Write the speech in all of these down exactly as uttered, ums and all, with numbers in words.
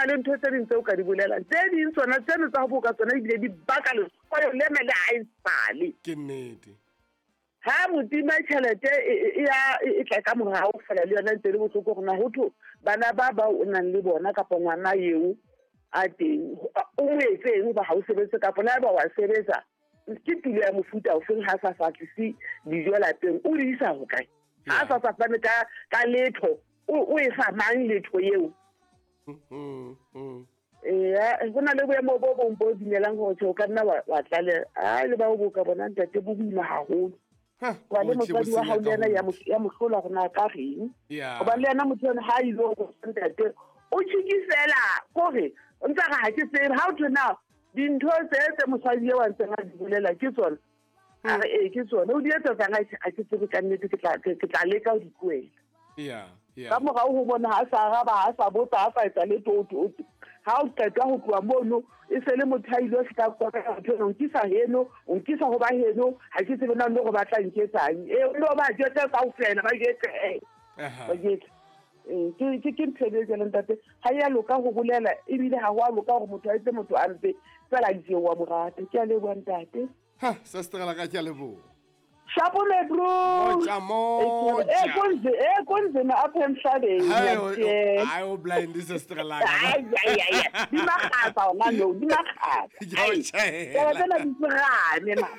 le ntho tse ding tseo ka di bolelang. Tse ding tsona tseno tsa ho boka tsona ebile di baka lehloyo lena le ha e sale. Ke nnete. Ha motima tjhelete e ya e tla ka morao fela le yona ntse le bohloko gore na ho thwe bana ba ba o nang le bona kapa ngwana eo a teng o mo etseng hoba ha o sebetse kapa le haeba wa sebetsa ke tulo ya mofuta ofeng ha sa sa tlise dijo lapeng o di isa hokae? Ha sa sa fane ka ka letho o e fa mang letho eo? Ee, go na le boemo bo bong bo dumelang gore tjhe o ka nna wa tlale a le ba o boka bona ntate bo boima haholo. Wa le motswadi wa hao le yena ya mo hlola gore na ka reng. Hobane le yena motho ena ha ile go ntate o tjhikisela kore o ntse re ha ke tsebe ha o thwe na dintho tse tse mosadi eo a ntseng a di bolela ke tsona. A re ee ke tsona o di etsetsang ha ke tsebe ka nnete ke tla ke tla leka ho di tlohela. Yeah, yeah. Ka morao ho bona ha sa araba ha sa botsa ha sa etsa letho o ha o qeta ho tloha mono e se le motho a ile fihla kwa motho o nkisa heno o nkisa ho ba heno ha ke tsebe na le gore ba tla nketsang e no ba jetse kaofela ba jetse ba jetse ke ke ke ntho e jwalo ntate ha ya loka ho bolela ebile ha ho a loka hore motho a etse motho a mpe fela ke wa morata. Ke a leboha ntate. Ha sister la ka ke a leboha. Shapo me bro. Moja moja. Eh konze eh konze na apha emhlabeni. Hayi o blind sister la ka. Ay ay ay. Di makgatsa ona no, di makgatsa. Ke a tsena di tsirane ma.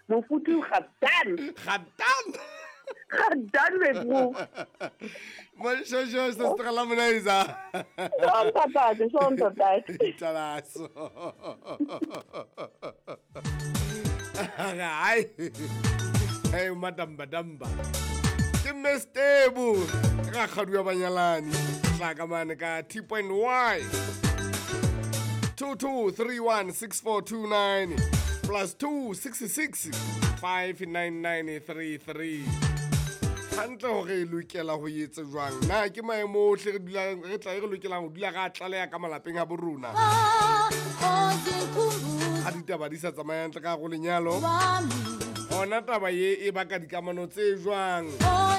Mofutu ga dan. Ga dan. Ga dan me bro. Moshojo sister la Monaiza. Son patate, son patate. Italaso. Ai, hey madamba damba. Ke Mestebu ka kgadu ya banyalani tla ka mane ka T point Y two two three one six four two nine plus two six six five nine nine three three. Hantle hore e lokela ho etse jwang na ke maemo ohle re dulang re tla re lokelang ho dula ra tlaleha ka malapeng a borona ha ditaba di sa tsamaya hantle ka go lenyalo ona taba ye e baka dikamano tse jwang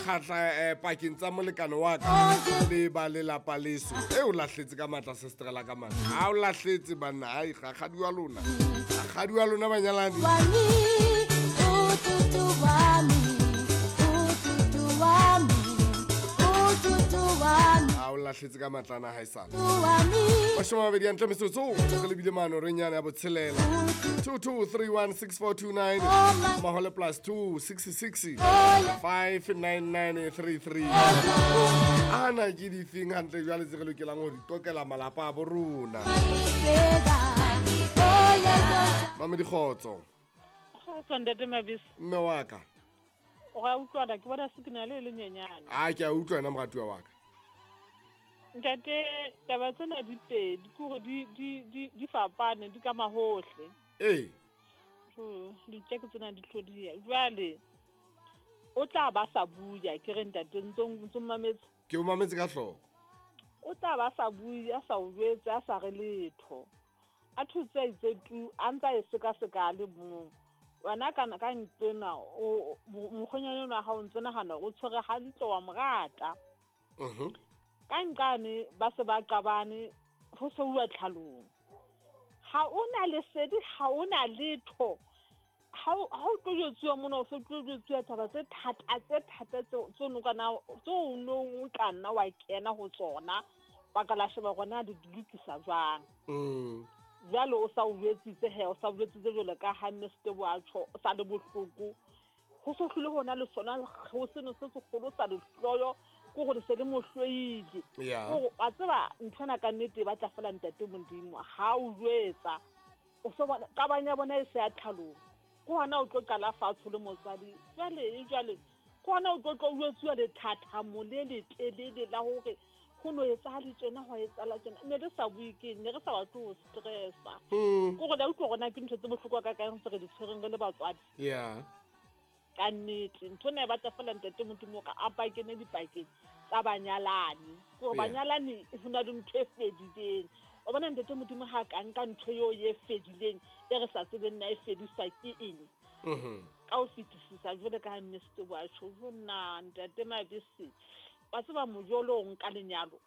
kgatla pakeng tsa molekane wa ka le ba lelapa leso e o lahletse ka matla sister la ka matla ha o lahletse banna ai kgadi wa lona kgadi wa lona banyalani ha o lahletse ka matlana ha e sale mashome a mabedi a ntle metsotso re lebile mano re nyane ya botshelela two two three one six four two nine mahole plus two six six five nine nine three three ana ke difeng hantle jwale tse re lokelang ho di tokela malapa a bo rona Mame dikgotso Kgotso ntate Mabisi mme wa ka o ga utlwana ke bona signal e le nyenyane. A ke a utlwa wena moratuwa wa ka. Ntate taba tsena di pedi ke hore di di di di fapane di ka mahohle. Ee. So ditjeko tsena di tlhodiya. Jwale o tla ba sa buya ke re ntate ntse ntse mametse. Ke o mametse ka hloko. O tla ba sa buya sa o jwetse a sa re letho. A thutse itse tu a ntsa e seka seka le mong. Wena kana ka ntena o mokgonyane wa hao ntse nahana o tshwere hantle wa morata. Mhm. Ka nqane ba se ba qabane ho se uwa tlhalong. Ha ona lesedi ha ona letho. Ha ha o tlo jwetsuwa mona o se tlo jwetsuwa taba tse thata tse thata tse tse no kana tse o nong o tla nna wa kena ho tsona ba ka la sheba gona di lokisa jwang. Mm. Jwale o sa o jwetsitse he o sa o jwetsitse jwalo ka ha Mr wa tjho o sa le bohloko ho so hlile hona le sona ho seno se segolo sa lehloyo ke gore se le mohloile Yeah. gore wa tseba nthwana ka nnete ba tla fela ntate Modimo ha o jwetsa o so bona qabang ya bona e se ya tlhalong ke hona o tlo qala fatshe le motswadi jwale e jwale ke hona o tlo tlo jwetsiwa lethathamo le letelele la hore ho no etsahale tjena ho etsahala tjena ne re sa bue ke ne re sa batle ho stressa Mm. ke gore la utlwa gona ke ntho tse bohlokwa ka kaeng tse re di tshwereng re le batswadi Yeah. ka nnete ntho ena e batla fela ntate Modimo ka a pakene dipakeng tsa banyalani ke gore Yeah. banyalani ho na le ntho e fedileng o bona ntate Modimo ha ka nka ntho eo e fedileng e re sa tsebeng na e fediswa ke eng Mhm. ka ho fetisisa jwale ka ha Mister wa tjho jo nna ntate Mabisi wa tseba mojolo o nka lenyalo